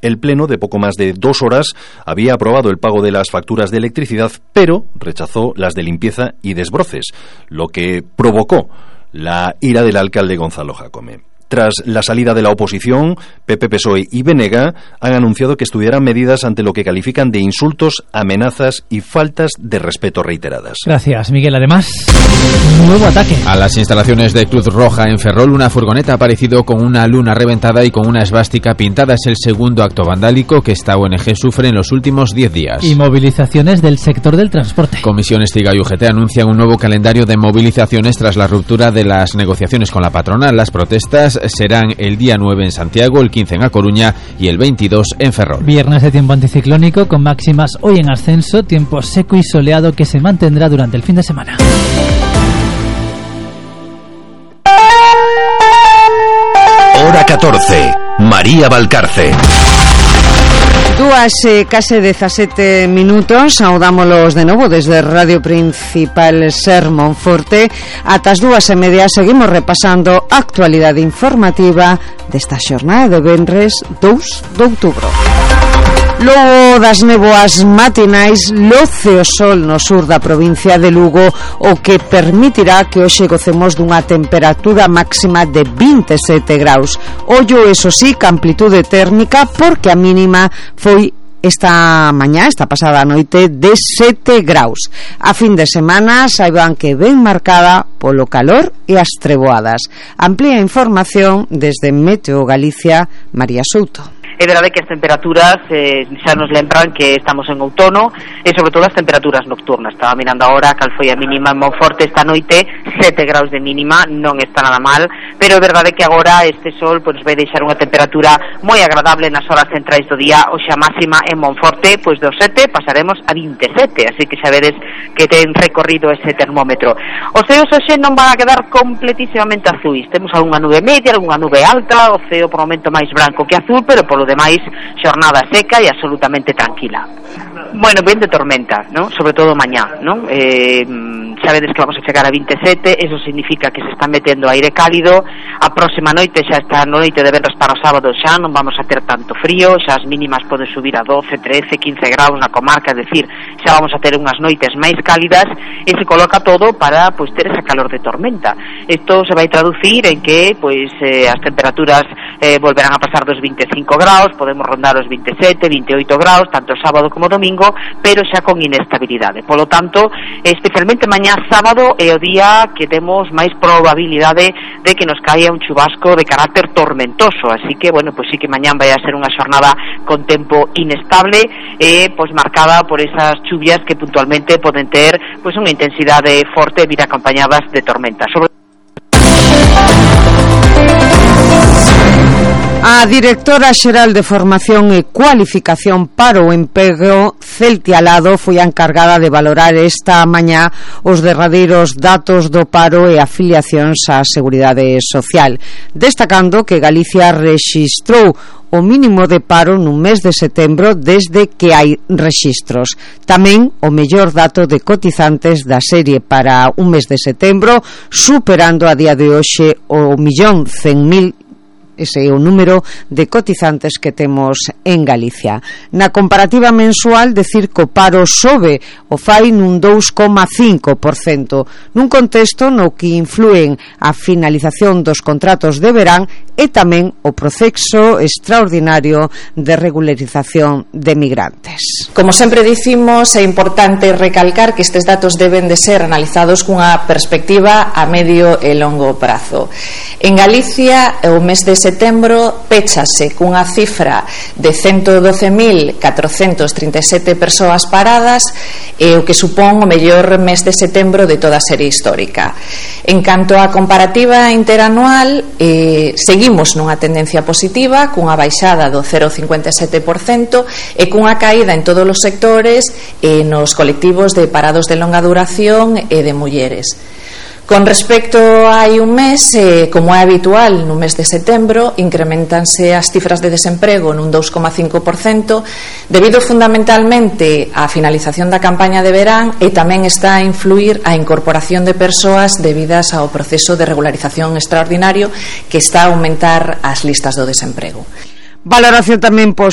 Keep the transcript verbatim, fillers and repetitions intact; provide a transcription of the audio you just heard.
El Pleno, de poco más de dos horas, había aprobado el pago de las facturas de electricidad, pero rechazó las de limpieza y desbroces, lo que provocó la ira del alcalde Gonzalo Jácome. Tras la salida de la oposición, P P, P S O E y Benega han anunciado que estudiarán medidas ante lo que califican de insultos, amenazas y faltas de respeto reiteradas. Gracias, Miguel. Además, un nuevo ataque. A las instalaciones de Cruz Roja en Ferrol, una furgoneta ha aparecido con una luna reventada y con una esvástica pintada. Es el segundo acto vandálico que esta O N G sufre en los últimos diez días. Y movilizaciones del sector del transporte. Comisión Estiga y U G T anuncian un nuevo calendario de movilizaciones tras la ruptura de las negociaciones con la patronal. Las protestas serán el día nueve en Santiago, el quince en A Coruña y el veintidós en Ferrol. Viernes de tiempo anticiclónico con máximas hoy en ascenso, tiempo seco y soleado que se mantendrá durante el fin de semana. Hora catorce. María Valcarce. Dúas eh, case dezasete minutos, saudámolos de novo desde Radio Principal Ser Monforte. Ata as dúas e media seguimos repasando a actualidade informativa desta xornada de venres dous de outubro. Logo das néboas matinais, loce o sol no sur da provincia de Lugo, o que permitirá que hoxe gocemos dunha temperatura máxima de vinte e sete graus. Ollo, eso sí, que amplitude térmica, porque a mínima foi esta mañá, esta pasada noite, de sete graus. A fin de semana saiban que ben marcada polo calor e as treboadas. Amplía información desde Meteo Galicia, María Souto. É verdade que as temperaturas eh, xa nos lembran que estamos en outono, e sobre todo as temperaturas nocturnas. Estaba mirando agora cal foi a mínima en Monforte esta noite, sete graus de mínima, non está nada mal, pero é verdade que agora este sol pois vai deixar unha temperatura moi agradable nas horas centrais do día. Hoxe a máxima en Monforte, pois dos sete pasaremos a vinte e sete, así que xa vedes que ten recorrido ese termómetro. Os ceos hoxe non van a quedar completísimamente azuis, temos algunha nube media, algunha nube alta, o ceo por momento máis branco que azul, pero polo demais xornada seca e absolutamente tranquila. Bueno, ben de tormenta, ¿no? Sobre todo mañá, ¿no? Eh, sabedes que vamos a chegar a vinte e sete, eso significa que se está metendo aire cálido. A próxima noite, xa esta noite de venres para o sábado, xa non vamos a ter tanto frío, xa as mínimas poden subir a doce, trece, quince graus na comarca, é dicir, xa vamos a ter unhas noites máis cálidas e se coloca todo para pois ter esa calor de tormenta. Isto se vai traducir en que pois eh, as temperaturas eh, volverán a pasar dos vinte e cinco graus, podemos rondar os vinte e sete, vinte e oito graus, tanto sábado como domingo, pero xa con inestabilidade. Polo tanto, especialmente mañá sábado é o día que temos máis probabilidade de que nos caia un chubasco de carácter tormentoso, así que, bueno, pois sí que mañá vai a ser unha xornada con tempo inestable e pois marcada por esas chuvias que puntualmente poden ter pois unha intensidade forte e vir acompañadas de tormenta. Sobre A directora xeral de Formación e Cualificación para o Emprego, Celtia Alado, foi a encargada de valorar esta mañá os derradeiros datos do paro e afiliacións á Seguridade Social, destacando que Galicia rexistrou o mínimo de paro nun mes de setembro desde que hai rexistros. Tamén o mellor dato de cotizantes da serie para un mes de setembro, superando a día de hoxe o millón cen mil. Ese é o número de cotizantes que temos en Galicia. Na comparativa mensual, decir que o paro sobe o fai nun dous coma cinco por cento, nun contexto no que influen a finalización dos contratos de verán e tamén o proceso extraordinario de regularización de migrantes. Como sempre dicimos, é importante recalcar que estes datos deben de ser analizados cunha perspectiva a medio e longo prazo. En Galicia, o mes de setembro péchase cunha cifra de ciento doce mil catrocentos trinta e sete persoas paradas, e o que supón o mellor mes de setembro de toda a serie histórica. En canto á comparativa interanual, eh, seguimos nunha tendencia positiva, cunha baixada do cero coma cincuenta e sete por cento e cunha caída en todos os sectores e nos colectivos de parados de longa duración e de mulleres. Con respecto a hai un mes, eh, como é habitual no mes de setembro, incrementanse as cifras de desemprego nun dous coma cinco por cento, debido fundamentalmente á finalización da campaña de verán, e tamén está a influir a incorporación de persoas debidas ao proceso de regularización extraordinario que está a aumentar as listas do desemprego. Valoración tamén positiva